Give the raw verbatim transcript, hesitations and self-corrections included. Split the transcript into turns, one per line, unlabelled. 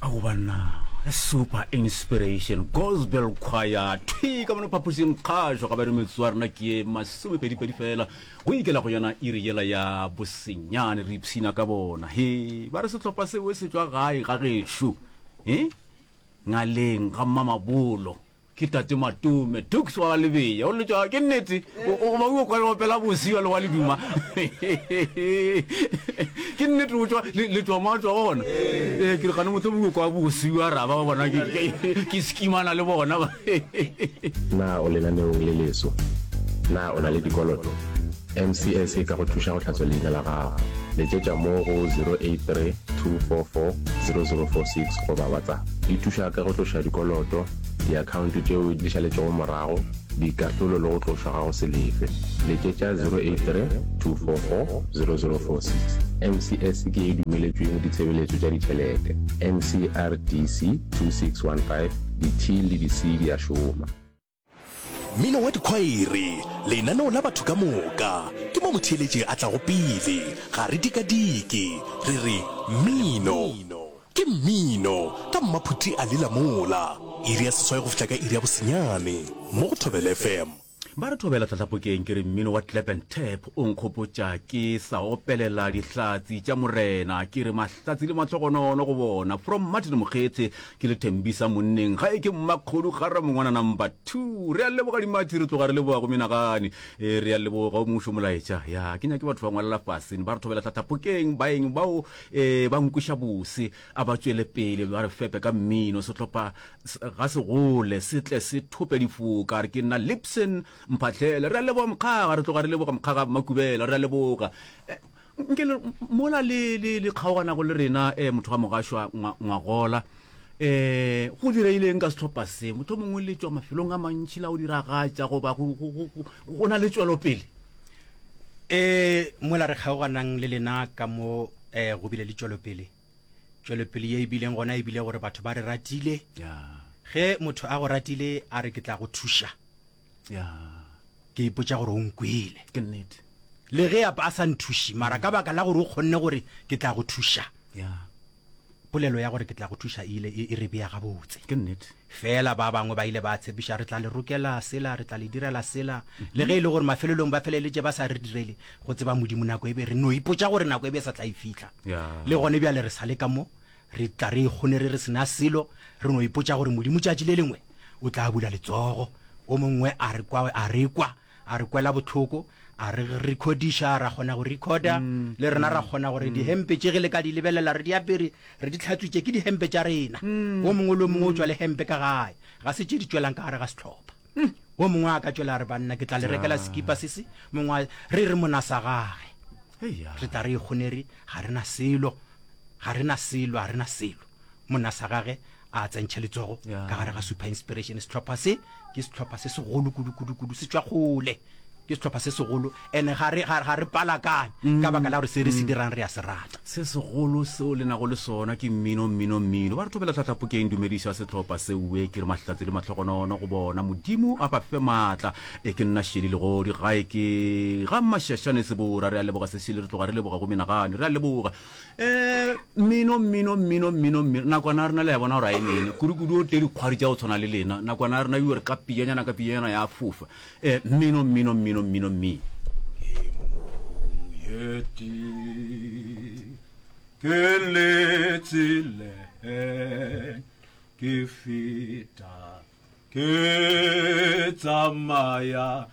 Ao banna, Super Inspiration Gospel Choir thwi ka mono phapošing kgašo ga ba re metsotso ya rena ke ye masomepedipedi fela go ikela go yona iri yela ya bosenyane re ipshina ka bona. He ba re sehlopha seo se tšwa gae ga gešo e ngaleng ga Mmamabolo. Ke Tate Matome, Tuks wa ga Lebeya. O letšwa, ke nnete, o goba o kwa le opela bose bjalo wa leduma. Ke nnete o tšwa, le tšwa mo a tšwa gona. Ee, ke re gane mohlomongwe o kwa bose bja ra ba bona ke, ke, ke skimana le bona.
Na o lenaneong le leso? Na o na le dikoloto? M C S e ka go thuša go hlatswa leina la gago. Letšetša mo go zero eight three two four four zero zero four six goba WhatsApp. Di thuša ka go tloša dikoloto, diakhaonto tšeo di šaletšego morago, dikahlolo le go tlošwa ga go se lefe. Letšetša zero eight three two four four zero zero four six. M C S ke ye e dumeletšweng ditshebeletšo tša ditšhelete. M C R D C two six one five, Di-T le di-C di a šoma.
Mmino wa dikhwaere, lenaneo la batho ka moka, ke mo motheeletši a tlago pele, ga re dikadike, re re mmino ke mmino ka Mmaphuti a lela mola, iri ya seswai go fihla ka iri ya bosenyane mo go Thobela F M.
Ba re thobela tlhatlhapokeng ke re mmino wa clap and tap o nkgopotša ke sa opelela dihlatsi tša Morena ke re mahlatsi le mahlogonono go bona from Martin Mokgetse ke le Thembisa monneng gae ke Mmakgodu ga Ramongwana number two re a leboga dimathi re tloga re leboga go menagane e re a leboga o mongwe molaetša ya ke nyake batho ba ngwalela fase ba re thobela tlhatlhapokeng baeng bao e ba nkweša bose a ba tšwele pele ba re fepe ka mmino sehlopha ga se gole se tle se thope difoka re ke nna Lipson Mphahlele re a leboga mokgaga re tloga re leboga mokgaga Makubela re a leboga nke le mola le le le kgaoganago le rena eh, motho wa mogašwa ngwagola eh go direileng ka sehlopha se motho mongwe le tšwa mafelong a mantši la go diragatša goba go na le tšwelopele
eh mola re kgaoganang le lena ka mo eh go bile le tšwelopele tšwelopele ye e bileng gona e bile gore batho ba re ratile ge motho a go ratile a re ke tla go thuša ke ipotša gore o nkwele
ke nnete
le ge a sa nthuši mara ka baka la gore o kgonne gore ke tla go thuša polelo ya gore ke tla go thuša e ile e re bea gabotse
ke nnete
fela ba bangwe ba ile ba tshepiša re tla le rokela sela re tla le direla sela le ge e le gore mafelelong ba feleletše ba sa re direle go tseba Modimo nako e be re no ipotša gore nako e be sa tla e fihla le gone bjale re sa le ka mo re tla re kgone re re sena selo re no ipotša gore Modimo tšatši le lengwe o tla bula letsogo o mongwe a re kwa a re kwa a re kwela bohloko a re recordisha ra kgona go recorda mm, le rena ra kgona gore mm. dihempe tše ge le ka di lebelela re di apere re di tlhatswitše ke dihempe tša rena mm, o mongwe le o mongwe o tšwa le hempe ka gae ga se tše di tšwelang ka gare ga sehlopha o mongwe a ka tšwela a re banna ke tla le rekela sekipa se se mongwe re re mona sa gage re tla re ikgonere ga re na selo ga re na selo ga re na selo monna sa gage a tsentšhe letsogo ka gare ga Super Inspiration sehlopha se ke sehlopha se segolo kudu kudu kudu se tšwa kgole ke sehlopha se segolo ene ga re ga re palakanye mm. ka baka la gore se re se mm. dirang re a se rata
se segolo seo le nago le sona ke mmino mmino mmino ba re thobela tlhatlhapokeng dumediša sehlopha seue ke re mahlatse le mahlogonono go bona Modimo a ba fe maatla e ke nna Sheli Legodi gae ke ga Mashashane Sebora re a leboga Sesheli re tloga re leboga go menagane re a leboga eh mmino mmino mmino mmino mmino nakwana ya rena le ya bona gore a e nene kudu-kudu o tle dikgwari tša go tshwana le lena nakwana ya rena ebile re ka pijanyana ka pijanyana ya fofa eh mmino mmino mmino mmino mmino ke le tseleng ke feta ke tsamaya